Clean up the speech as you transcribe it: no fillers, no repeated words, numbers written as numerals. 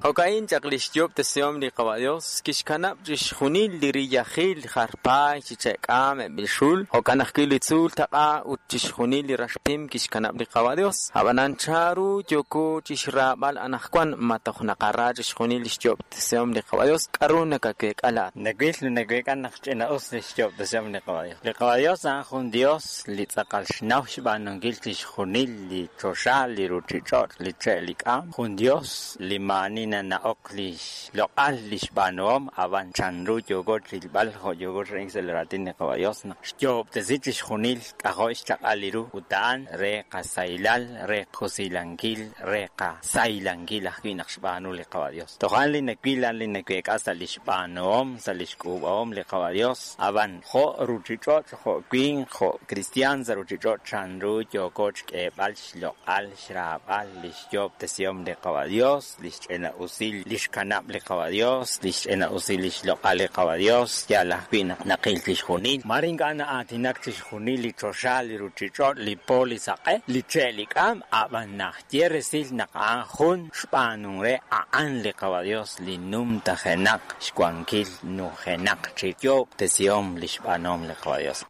Jo'ka'in chaq li xyoob'tesihom li Qawa' Yos, kixkanab' chixjunil li riyajil jar paay chi che'k'aam eb' li xul, jo'kan ajwi' li tzuul taq'a ut chixjunil li raxpim kixkanab' li Qawa' Yos. Ab'anan chanru yooko chi xraab'al anaqwan? Ma toj naqara chixjunil li xyoob'tesihom li Qawa' Yos? K'aru nakaweek'a laa'at? Nawil naweek'a naq ch'ina'us li xyoob'tesihom li Qawa' Yos. Li Qawa' Yos a'an jun Yos li tz'aqal xnaw xb'aanunkil chixjunil li choxa, li ruuchich'och', li che' li k'aam. Jun Yos li maa'ani nana'ok li xloq'al li xb'aanuhom, ab'an chanru yooko rilb'al jo' yooko xra'ink sa' li raatin li Qawa' Yos naq xyoob'tesi chixjunil k'ajo' xchaq'al li ru ut a'an re qasahilal, re qusilankil, re qasaylankil ajwi' naq xb'aanu li Qawa' Yos. Toj a'an li nawil, a'an li naweek'a sa' li xb'aanuhom, sa' li xk'uub'ahom li Qawa' Yos, ab'an jo' ruuchich'och', jo' winq, jo' kristiaan sa' ruuchich'och' chanru yooko xk'eeb'al xloq'al, xraab'al li xyoob'tesihom li Qawa' Yos, li xch'ina'usil li xkanab' li Qawa' Yos, li xch'ina'usil li xloq'al li Qawa' Yos, yaal ajwi' naq naqil chixjunil. Mare ink'a' na'aatinak chixjunil li choxa, li ruuchich'och', li po, li saq'e, li che', li k'aam, ab'an naxye resil naq a'an jun xb'aanunk re a'an li Qawa' Yos li numtajenaq xwankil nujenaq chi yoob'tesihom li xb'aanuhom li Qawa' Yos.